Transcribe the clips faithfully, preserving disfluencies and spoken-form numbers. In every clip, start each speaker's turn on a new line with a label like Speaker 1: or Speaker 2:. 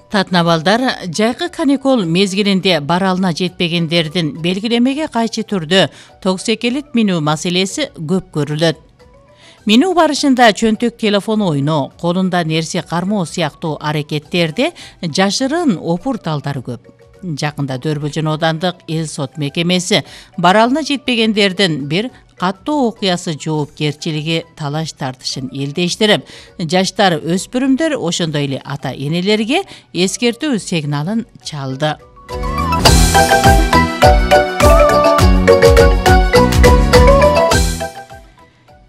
Speaker 1: Татнабалдар жайкы каникул мезгилинде баралына жетпегендердин белгилемеге кайчы түрдө токсекелит минүү маселеси көп көрүлөт. Минүү барышында чөнтөк телефон ойноо, колунда нерсе кармоо сыяктуу аракеттерде жашырын опур-талдар көп. Жакында Дөрбүлжүн оодандык эл сот мекемеси баралына жетпегендердин бир каттуу окуясы жоопкерчилиги талаш тартышын элдештирип, жаштар өспүрүмдөр ошондой эле ата-энелерге эскертүү сигналын чалды.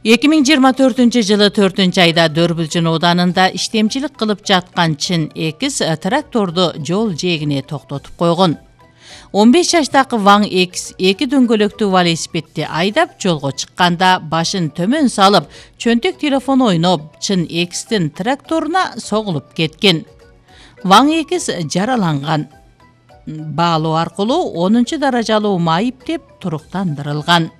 Speaker 1: эки миң жыйырма төртүнчү жылы төртүнчү айда Дөрбүлжүн ооданында иштемчилик кылып жаткан Чын Экс тракторду жол жээгине токтотуп койгон. он беш жаштагы Ваң Экс эки дөңгөлөктүү велосипедди айдап жолго чыкканда башын төмөн салып, чөнтөк телефон ойноп, Чын Экстин тракторуна согулуп кеткен. Ваң Экс жараланган. Баалоо аркылуу онунчу даражалуу майып деп туруктандырылган.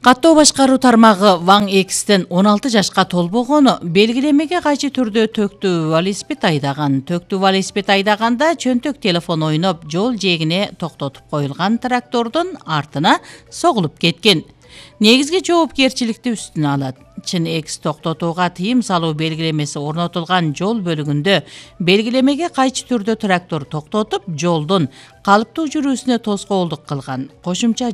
Speaker 1: Каттоо башкаруу тармагы Ваң Экстин он алты жашка толбогону белгилемеге кайчы түрдө төктүү велосипед айдаган. Төктүү велосипед айдаганда чөнтөк телефон ойноп, жол жээгине токтотуп коюлган трактордун артына согулуп кеткен. Негизги жоопкерчиликти үстүнө алат. Чын Экс токтотууга тыйым салуу белгилемеси орнотулган жол бөлүгүндө белгилемеге кайчы түрдө трактор токтотуп, жолдун калыптуу жүрүүсүнө тоскоолдук кылган. Кошумча